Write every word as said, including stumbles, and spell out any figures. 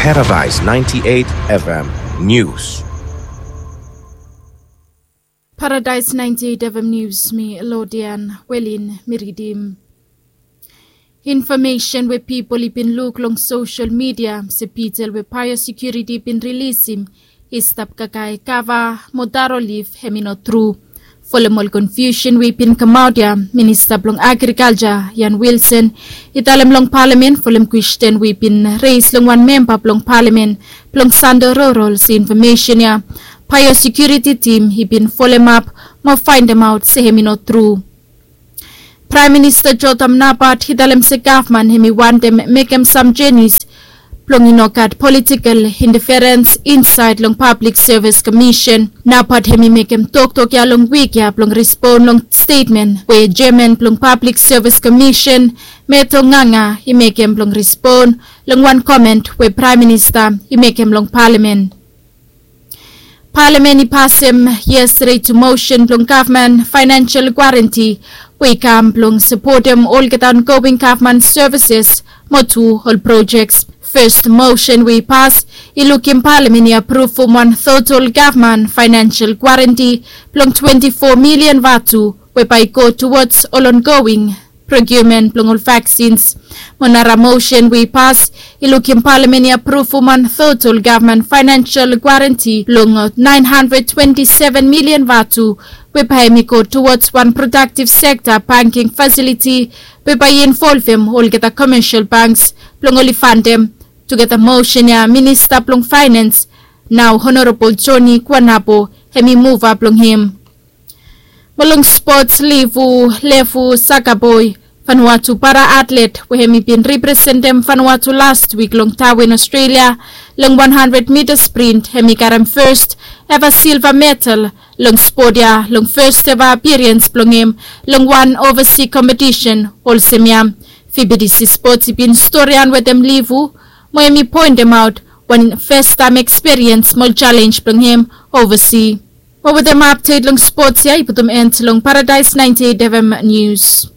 Paradise ninety-eight F M News. Paradise ninety-eight F M News, mi Lodian Welin mi ridim. Infomesen we pipol i bin luk long sosel midia se pitel we biosecurity i bin rilisim i stap kakae kava mo daro lif hem i no tru. Folem ol konfiusen we i bin kamaot ya, minista blong agrikalja Ian Wilson i talem long palamen folem kwestin we i bin reis long wan memba blong palamen blong Sando Rurol se infomesen ya biosekuriti tim i bin folemap mo faendemaot se hem i no tru. Praem Minista Jotham Napat i talem se gavman hem i wantem mekem sam jenis blong i no gat politikel inteferens insaed long Pablik Sevis Komisen. Napat hem i mekem toktok ya long wik ya blong respon long stetmen we jeaman blong Pablik Sevis Komisen, Meto Nganga, i mekem blong respon long wan komen we Praem Minista i mekem long palamen. Palamen i pasem yestede tu mosen blong gavman faenensel guarenti we i kam blong sapotem olgeta ongoing gavman sevises mo tu ol projek. Fes mosen we i pas i lukim palamen i apruvum wan total gavman faenensel guarenti blong twenti fo milian vatu we bae i go tuwods ol ongoing prokiumen blong ol vaksins. Mo nara mosen we i pas i lukim palamen i apruvum wan total gavman faenensel guarenti blong naen handred twenti seven milian vatu we bae hem i go tuwods wan prodaktiv sekta banking fasiliti we bae i involvem olgeta komesel banks blong oli faendem. Tugeta mosen ya minista blong faenens nao Honorabol Joni Kuanabo hem i muva blong hem. Mo long spots, Livu Lefu Sakaboi, Vanuatu para atlet we hem i bin representem Vanuatu lastwik long Tawen, Aostralia, long wan handred mita sprint hem i karem fes eva silva medal long spot ya long fes eva apiriens blong hem long wan ovasi kompetisen olsem ya. Fibidisi Spots i bin storian wetem Livu mo hem i poendemaot wan festaem ekspiriens mo jalenj blong hem ovasi. Mo wetem apdet long spots ya i putum en long Paradise ninety-eight F M News.